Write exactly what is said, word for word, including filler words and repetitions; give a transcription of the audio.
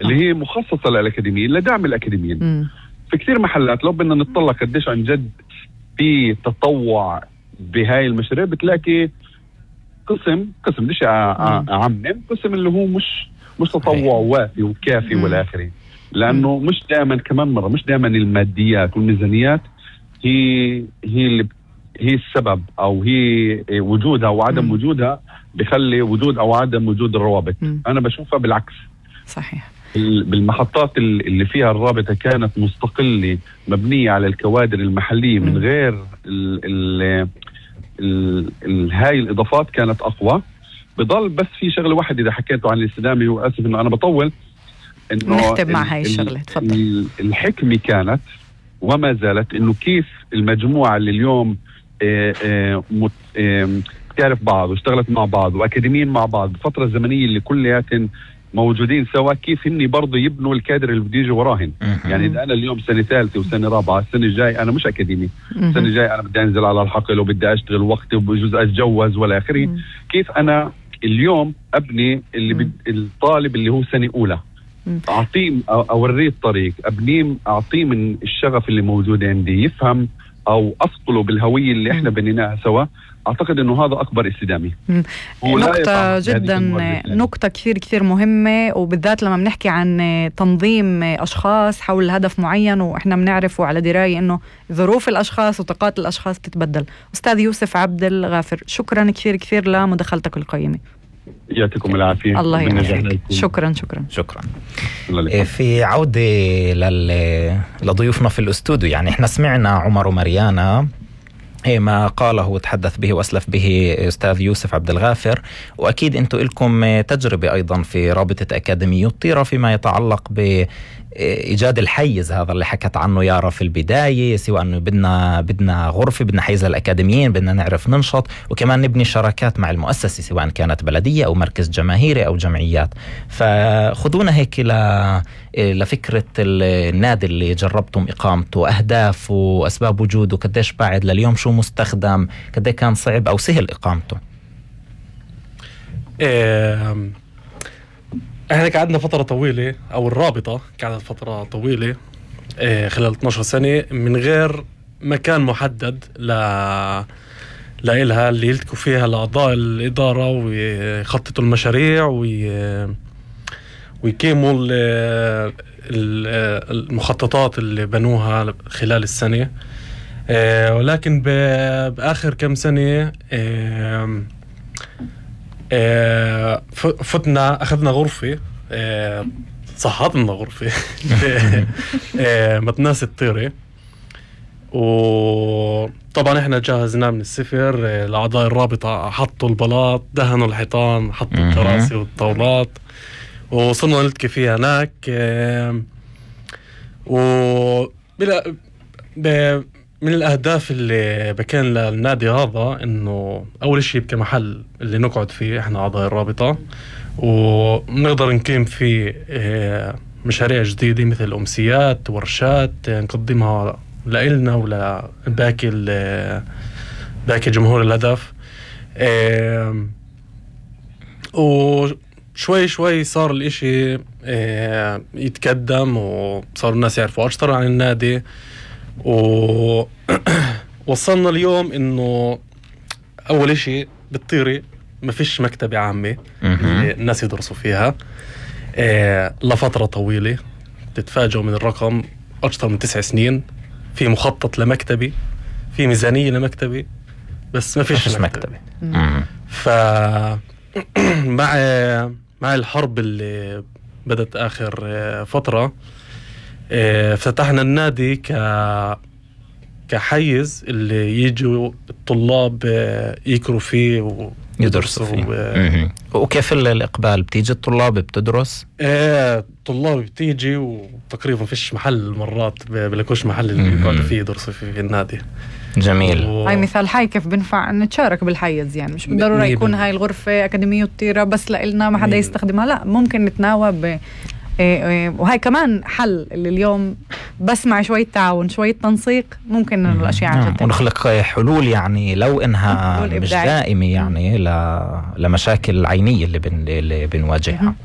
اللي هي مخصصة للأكاديميين لدعم الأكاديميين. م. في كثير محلات لو بدنا نطلع قديش عن جد في تطوع بهاي المشاريع بتلاقي قسم قسم بديش أعمم قسم اللي هو مش مش تطوع وافي وكافي والآخري، لأنه م. مش دائما كمان مرة مش دائما الماديات والميزانيات هي هي اللي هي السبب أو هي وجودها وعدم م. وجودها بيخلي وجود أو عدم وجود الروابط. م. أنا بشوفها بالعكس. صحيح. بالمحطات اللي فيها الرابطة كانت مستقلة مبنية على الكوادر المحلية من غير ال ال ال ال هاي الإضافات كانت أقوى. بضل بس في شغلة واحدة إذا حكيته عن الاستدامة، وآسف إنه أنا بطول، إنه نختم مع هاي الشغلة. تفضل. الحكمة كانت وما زالت إنه كيف المجموعة اللي اليوم اه اه مت اه تعرف بعض واشتغلت مع بعض وأكاديميين مع بعض بفترة زمنية اللي كلياتن موجودين سوا، كيف هني برضو يبنوا الكادر اللي بده يجي وراهن. يعني إذا أنا اليوم سنة ثالثة وسنة رابعة، السنة الجاي أنا مش أكاديمي، السنة الجاي أنا بدي أنزل على الحقل وبدي أشتغل وقتي وبجوز أتجوز ولا آخره. كيف أنا اليوم أبني اللي بد... الطالب اللي هو سنة أولى أعطيه أو أوريه الطريق، أبنيه أعطيه من الشغف اللي موجود عندي، يفهم أو أصقله بالهوية اللي إحنا بنيناها سوا. أعتقد أنه هذا أكبر استدامة. نقطة جدا نقطة كثير كثير مهمة، وبالذات لما بنحكي عن تنظيم أشخاص حول هدف معين، وإحنا بنعرف وعلى دراية أنه ظروف الأشخاص وطاقات الأشخاص تتبدل. أستاذ يوسف عبد الغافر، شكرا كثير كثير لمداخلتك القيمة. يعطيكم العافية. الله يعافيك. شكرا شكرا شكرا. في عودة لل... لضيوفنا في الاستوديو، يعني احنا سمعنا عمر ومريانا ما قاله وتحدث به وأسلف به أستاذ يوسف عبد الغافر، وأكيد أنتم لكم تجربة أيضا في رابطة أكاديمية الطيرة فيما يتعلق بإيجاد الحيز هذا اللي حكت عنه يارا في البداية، سواء أنه بدنا بدنا غرفة، بدنا حيز للأكاديميين، بدنا نعرف ننشط، وكمان نبني شراكات مع المؤسسة سواء كانت بلدية أو مركز جماهيري أو جمعيات. فخذونا هيك ل لفكرة النادي اللي جربتم إقامته، أهداف وأسباب وجوده، قديش بعد لليوم، شو مستخدم، قديش كان صعب أو سهل إقامته. إيه احنا قعدنا فترة طويلة، أو الرابطة قعدت فترة طويلة إيه خلال اثناشر سنة من غير مكان محدد ل لإلها اللي يلتقوا فيها لأعضاء الإدارة ويخططوا المشاريع وي ويقيموا المخططات اللي بنوها خلال السنة. ولكن بآخر كم سنة فتنا أخذنا غرفة، صحتنا غرفة متناس الطيرة، وطبعا احنا جهزنا من الصفر. الأعضاء الرابطة حطوا البلاط، دهنوا الحيطان، حطوا الكراسي والطاولات، وصلنا نلتقي فيها هناك. وبلا من الأهداف اللي بكان للنادي هذا إنه أول شيء يبقى محل اللي نقعد فيه إحنا أعضاء الرابطة، ونقدر نقيم فيه مشاريع جديدة مثل أمسيات، ورشات نقدمها لإلنا ولباقي باقي جمهور الهدف. و شوي شوي صار الاشي اه يتقدم، وصار الناس يعرفوا أكثر عن النادي، ووصلنا اليوم انه اول اشي بالطيرة ما فيش مكتبة عامة الناس يدرسوا فيها اه لفترة طويلة. تتفاجئوا من الرقم، أكثر من تسع سنين في مخطط لمكتبي، في ميزانية لمكتبي، بس ما فيش مكتبة. ف مع مع الحرب اللي بدت آخر فترة فتحنا النادي ك كحيز اللي يجوا الطلاب يقروا فيه ويدرسوا فيه. و... وكيف الإقبال؟ بتيجي الطلاب بتدرس؟ ايه الطلاب بتيجي، وتقريبا فيش محل مرات بلاقوش محل اللي يقعدوا فيه يدرسوا فيه في النادي. جميل. و... هاي مثال حي كيف بنفع نتشارك بالحيز، يعني مش بالضرورة يكون هاي الغرفة أكاديمية الطيرة بس لإلنا ما حدا يستخدمها، لا ممكن نتناوب. إيه إيه وهاي كمان حل اللي اليوم بس مع شوية تعاون شوية تنسيق ممكن الأشياء عن جد. ونخلق حلول، يعني لو إنها مش دائمة، يعني ل... لمشاكل عينية اللي, بن... اللي بنواجهها.